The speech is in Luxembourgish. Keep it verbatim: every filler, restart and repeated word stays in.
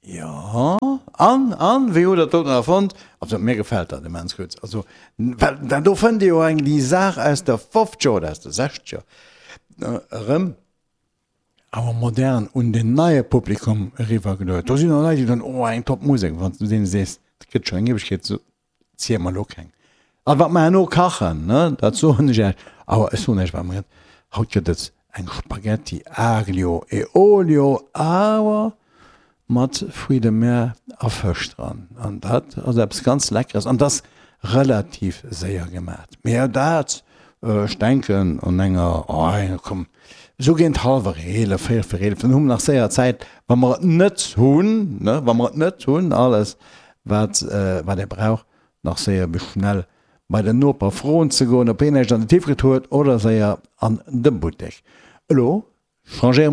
Jo, an, an, wéi hutt Der dat doten erfonnt? Also mir gefält dat immens gutt. Also, well dat do fënnt ee jo eng déi Saach aus de fofzeger oder aus de sechzeger erëm, awer modern un den neie Publikum eriwwergeluet. Do sinn och Leit, déi soen, oh eng top Musek, wann s du deene sees, et gëtt schonn eng Ewegkeet, so ziel mer elo keng. A wat mer herno kachen, ne, dat soen ech Iech, awer ech soen Iech wat mer gëtt, haut gëtt et eng Spaghetti aglio e olio, awer mat Fruits de mer a Fësch dran. An dat ass eppes ganz Leckeres an dat ass relativ séier gemat. Mee dat, ech denken an enger, oh komm, esou géint hallwer eelef, véierel vir eelef, dann hu mer nach séier Zäit, wa mer et net hunn, ne, wa mer et net hunn, alles wat, wat ee brauch, nach séier bis schnell bei den Noper froen ze goen, ob hien näischt an de Tiefgefrier huet oder séier an de Buttek. Elo changéiere mer.